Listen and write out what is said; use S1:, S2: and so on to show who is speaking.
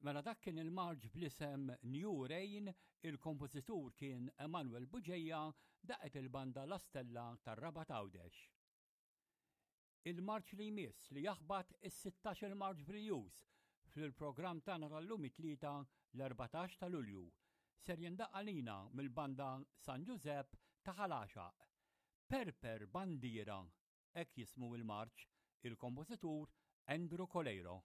S1: Mela dak kien il-marċ bl-isem New Rain, il-kompożitur kien Emanuel Bugeja, daqet il-banda La Stella tar-Rabat Għawdex. Il-marċ li jmiss li jaħbat is-16 il-marċ brijuż fil-programm tagħna tal-lum it-Tlieta l-14 ta' Lulju ser jindaqq għalina mill-banda San Ġużepp ta' Ħal Għaxaq. Perper Bandiera, hekk jismu il-marċ, il-kompożitur Andrew Coleiro.